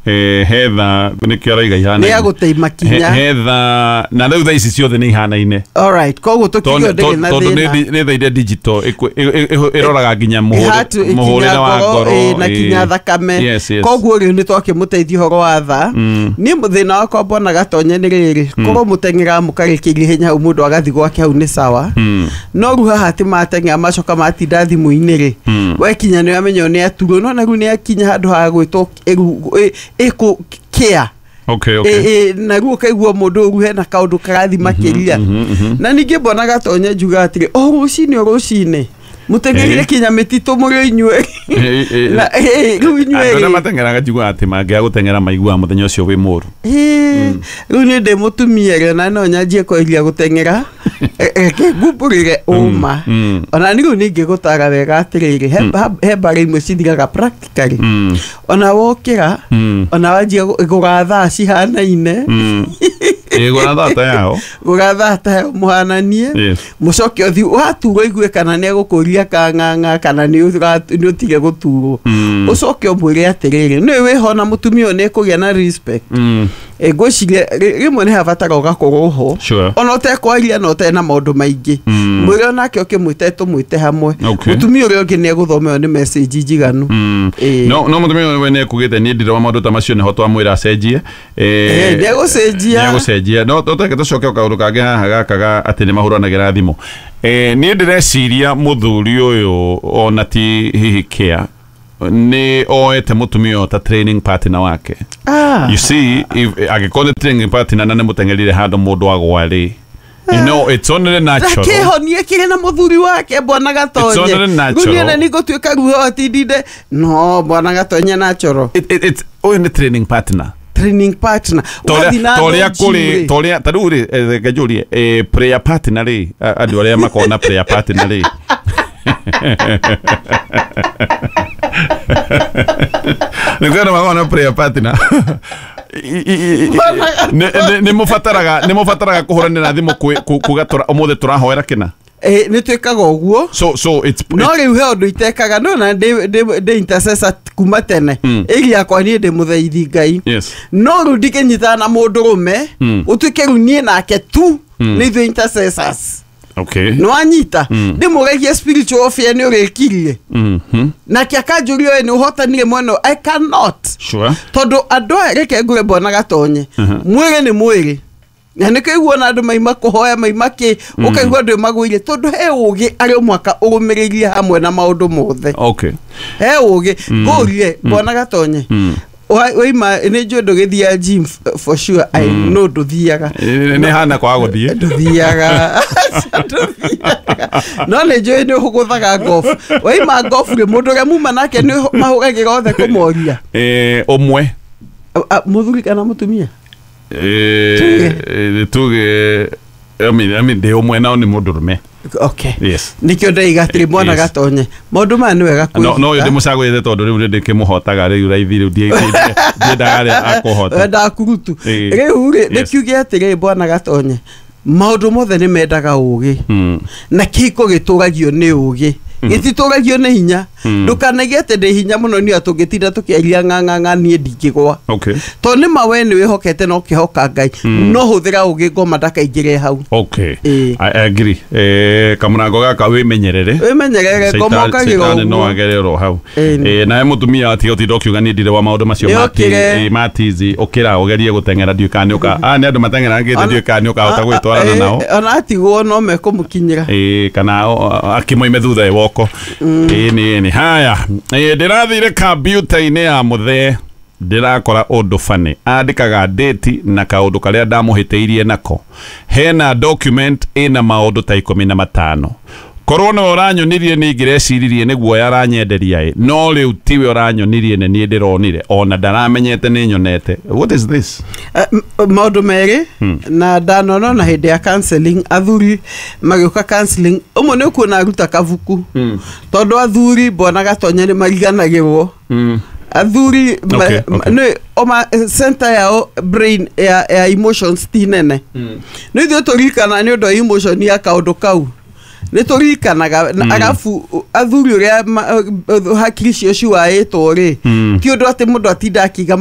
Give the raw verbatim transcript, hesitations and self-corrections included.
Eh, hetha nĩkĩo araiga Nĩ ihanaine. ya gũteima kinya. He- hetha na rĩu thaa ici ciothe nĩ ihanaine. Alright, koguo tũkiuge Tondũ ndĩrĩ na tondũ thĩna. nĩ nĩ thaa iria digital ĩkũ- ĩ- ĩ- ĩ- ĩroraga nginya Heart, mũhũrĩre mũhũrĩre wa ngoro, ĩ, na ĩ. kinya thakame. Yes, yes. Koguo rĩu nĩ twakĩmũteithia ũhoro wa thaa. Niĩ thĩna wakwa mbona gatonye nĩ rĩrĩ, korwo mũteng'eraga mũkarĩkĩria ihenya hau, mũndũ agathiĩ gwake hau nĩ sawa. Mm. No rĩu haha atĩ mateng'era macoka matinda thimũ-inĩ rĩ, wekinya nĩ amenya nĩ aturwo, no na rĩu nĩ akinya handũ ha gwĩtwo ĩru- ĩ- ĩkũ kĩa. okay okay Ĩ- ĩ, na rĩu ũkaigua mũndũ ũyũ hena kaũndũ karathi makĩria. Na ningĩ mbona gatonye njuga atĩrĩ, o rũcinĩ o rũcinĩ mũteng'erire Ĩ. kinya mĩtitũ mũrĩ o inyuĩ. Ĩ, ĩ, Na, ĩ, rĩu inyuĩ andũ arĩa rĩ, mateng'eraga njugaga atĩ mangĩaga gũteng'era maiguaga mũthenya ũcio wĩ mũru. Ĩ, rĩu niĩ ndĩ mũtumia rĩ, ona no nyanjie kweria gũteng'era. E- reke ngumbũrĩre ũma. mm. Ona nĩ rĩu ningĩgũtara wega atĩrĩrĩ, he- ha- he mbara imwe cithiraga practically. Mm. Ona wokĩra, Mm. ona wanjia gũ- gũra thaa cihanaine. Mm. Ĩ, gũra thaa ta yao. Gũra thaa ta yao mũhananie. Yes. Mũcoke ũthi waturwo igue kana nĩ egũkũria kang'ang'a kana nĩ ũra- nĩ ũtige gũturwo. Mm. Ũcoke ũmwĩre atĩrĩrĩ, nĩ wĩho na mũtumia ũyũ nĩ ekũgĩa na respect. Mm. Ĩ, ngwĩciria rĩ- rĩmwe nĩ habatara ũgakorwo ho. Sure. Ona ũtekwaria na ũtarĩ na maũndũ maingĩ. Mm. Mwĩre onake ũkĩmwĩte tũmwĩte hamwe. Okay. Mũtumia ũrĩa ũngĩ nĩ egũthoma ĩyo nĩ message njiganu. Mm. Ĩ. no no mũtumia ũyũ we nĩ ekugĩte niĩ ndirĩ wa maũndũ ta macio, nĩho twamwĩra acenjie. Ĩ, nĩegũcenjia. Nĩegũcenjia. No tũteke tũcoke kaũndũ kangĩ haha gaka ga atĩ nĩ mahũranagĩra thimũ. Eh, niĩ ndĩreciria mũthuri ũyũ ona ti hihi kĩa nĩ oete mũtumia ũyũ ta training partner wake. Ah. You see, if angĩkorwo nĩ training partner na nĩ mũteng'erire handũ mũndũ agwa rĩ, you know it's only natural. Kĩhonie kĩrĩ na mũthuri wake, bwana Gatonye. It's only natural. Rĩu niĩ na nĩngũtuĩka ruo atindinde no bwana Gatonye natural. it, it, it's ũyũ nĩ training partner. Training partner. Wathiĩ na Torĩa andũ gym kũrĩ rĩ. torĩa ta rĩu rĩ, eh, reke njũrie, eh, prayer partner rĩ, a- andũ arĩa makoragwo na prayer partner rĩ, nĩ kwĩ andũ makoragwo na prayer partner. I- i- i- nĩ- nĩ- nĩ mũbataraga nĩ mũbataraga kũhũranĩra thimũ kwĩ- ku- kuga tũra- ũmũthĩ tũrahoera kĩna? Ĩ, nĩ twĩkaga ũguo. so so it's No rĩu he ũndũ itekaga, no na ndĩ ndĩ- ndĩ intercessor kuma tene. Mm. Ĩri yakwa niĩ ndĩ mũthaithi Ngai. Yes no rĩu ndingĩnyitana na mũndũrũme Mm. ũtuĩke rĩu niĩ nake tu Mm. nĩ ithuĩ intercessors. Okay nĩ wanyita? Mm. Ndĩmũragie spiritual warfare nĩ ũrĩkirie. Mhm. Nake akanjũria ũyũ nĩ ũhotanire mwena ũyũ. I cannot. Sure tondũ andũ aya, reke ngũre mbona Gatonye, Mhm. mwĩrĩ nĩ mwĩrĩ, na nĩ kĩigua na andũ maima kũhoya maima kĩ, ũkaigua andũ magũire tondũ he ũgĩ arĩ o mwaka ũrũmĩrĩirie hamwe na maũndũ mothe. Okay he ũgĩ ngũrie mbona Gatonye. Mm. Wa- waima nĩ njũĩ ndũgĩthiaga gym, f- for sure I know ndũthiaga. Nĩ nĩ hana kwaga gũthiĩ. Ndũthiaga, ndũthiaga, no nĩ njũĩ nĩ ũgũthaga golf. Waima golf rĩ, mũndũ ũrĩa muma nake nĩ mahũragĩra othe kũmoria? Eh, ũmwe. A- a- mũthuri kana mũtumia? Eh, Tuge. eh, tuge I mean, I mean, ndĩ ũmwe nao nĩ mũndũrũme. Okay. Yes. Nĩkĩo ndaiga atĩrĩ, mwana Yes. Gatonye, maũndũ maya nĩ wega no no ũyũ kwĩruta. ndĩmũcagũrĩte tondũ rĩu nĩ ndĩkĩmũhotaga rĩu raithi, rĩu ndiĩ- ndiĩ- ndiendaga arĩa akũhota. Wendaga kurutu. Ĩĩ. Rĩu rĩ, Yes. nĩkiuge atĩrĩ, bwana Gatonye, maũndũ mothe nĩ mendaga ũgĩ. Mm. Na kĩhiko gĩtũragio nĩ ũgĩ, gĩtitũragio nĩ hinya. Mm. Ndũkanaige atĩ ndĩ hinya mũno niĩ tũngĩtinda tũkĩaria ng'ang'ang'a niĩ ndingĩgwa. Okay tondũ nĩ ma we nĩ wĩhokete na ũkĩhoka Ngai, no hũthĩra ũgĩ ngoma ndakaingĩre hau. Okay. Ĩĩ. I agree. Eh, kamũrango gaka wĩmenyerere. Wĩmenyerere ngoma ũkagĩra Caitani no ũguo. agere oro hau. Ĩĩ. Eh, nawe mũtumia atiga ũtinda ũkiuga niĩ ndirĩ wa maũndũ macio. Nĩ ma ũkĩre. ti- eh, ma tizi ũkĩra ũgerie gũteng'era, ndiũĩ kana nĩ ũka aya nĩ andũ mateng'erangĩte, ndiũĩ kana nĩ ũkahota gwĩtwarana nao. Ĩĩ, ona atigwo no mekũmũkinyĩra. Ĩĩ, kana o- o- akĩmoime thutha woko. Ĩĩ, nĩ nĩ haya. Ĩĩ, ndĩrathire kambiuta-inĩ ya mũthee, ndĩrakora ũndũ bani andĩkaga date na kaũndũ karĩa ndamũhĩtĩirie nako. Hena document ĩna maũndũ ta ikũmi na matano. Korwo nĩwe ũranyonirie nĩ ingĩreciririe nĩ guoya aranyenderia ĩ, no rĩu tiwe ũranyonirie, nĩ niĩ ndĩronire ona ndaramenyete nĩ nyonete. What is this? Eh, m- maũndũ merĩ na ndanona na hĩndĩ ya counseling, athuri magĩũka counseling, ũmwe nĩ ũkuona aruta kabuku, tondũ athuri mbona Gatonye nĩ mariganagĩrwo. Athuri ma- Okay, ma- okay. nĩ oma center yao brain ya, ya emotions ti nene. Nĩ ithuĩ tũririkana nĩ ũndũ wa emotion ya kaũndũ kau nĩ tũririkanaga. Na arabu athuri ũrĩa ma- hakiri cio ciwaĩtwo rĩ, Mm. ti ũndũ atĩ mũndũ atinda akiuga.